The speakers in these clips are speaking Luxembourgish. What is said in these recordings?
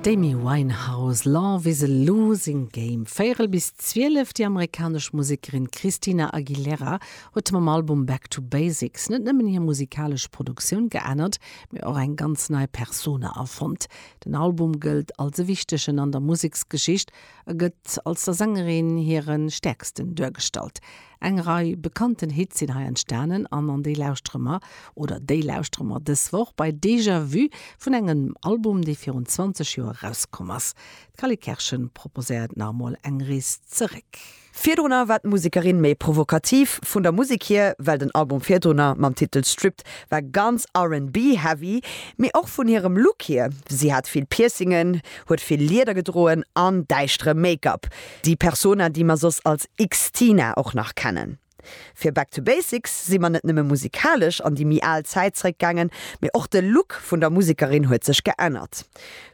D'Amy Winehouse, Love is a losing game. Véierel bis 12, Déi amerikanesch Musekerin Christina Aguilera huet mam Album Back to Basics net nëmmen hir musikalesch Produktioun geännert, mee och eng ganz nei Persona erfonnt. Den Album gëllt als e wichtegen an der Museksgeschicht a gëtt als der Sängerin hire stäerksten duergestallt. Eng Rei bekannten Hits sinn hei entstanen an an déi lauschtere mer, oder déi lauschtere mer dës Woch bei Déjà Vu vun engem Album, dee virun 20 Joer erauskomm ass. D'Cally Kerschen proposéiert nach emol eng Rees zeréck. Virdrunner war d'Musekerin méi provokativ vun der Musek hier, well den Album virdrunner mam Titel Stripped war ganz RnB-heavy, mee och vun hirem Look hier, si hat vill Piercingen, huet vill Lieder gedroen an däischtere Make-up. Déi Persona, déi mer soss als Xtina och nach kennen. Fir Back to Basics si mer net nëmme musikalesch an déi méi al Zäit zeréckgaangen, mee och de Look vun der Musekerin huet sech geännert.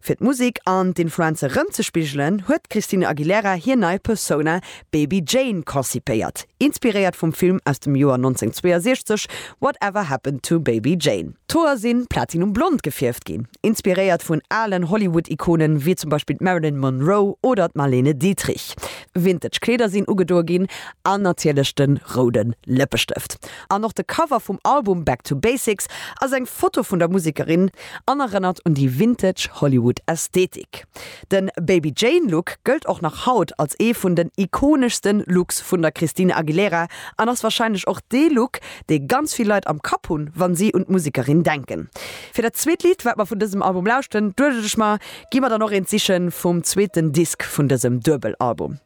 Fir d'Musek an d'Influenze rëmzespigelen, huet d'Christina Aguilera hir nei Persona Baby Jane konzipéiert, inspiréiert vum Film aus dem Joer 1962 Whatever Happened to Baby Jane. D'Hoer si platinum-blond gefierft ginn, inspiréiert vun alen Hollywood-Ikonen wéi zum Beispill d'Marilyn Monroe oder d'Marlene Dietrich. Vintage Kleeder sinn ugedoe ginn an natierlech de roude Lëppestëft. An och de Cover vum Album Back to Basics ass eng Foto vun der Musekerin an erënnert un déi vintage Hollywood-Ästhetik. De Baby Jane Look gëllt och nach haut als ee vun den ikoneschste Looks vun der Christina Aguilera an ass warscheinlech och dee Look, dee ganz vill Leit am Kapp hunn, wann si un d'Musekerin denken. Fir dat zweet Lidd, wat mer vun dësem Album lauschten, duecht ech mer, gi mer dann och eent sichen vum zweeten Disk vun dësem Duebel-Album.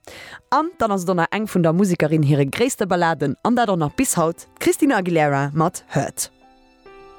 An dann ass et och nach eng vun der Musekerin hire gréisste Balladen, an dat och nach bis haut, d'Christina Aguilera mat Hurt.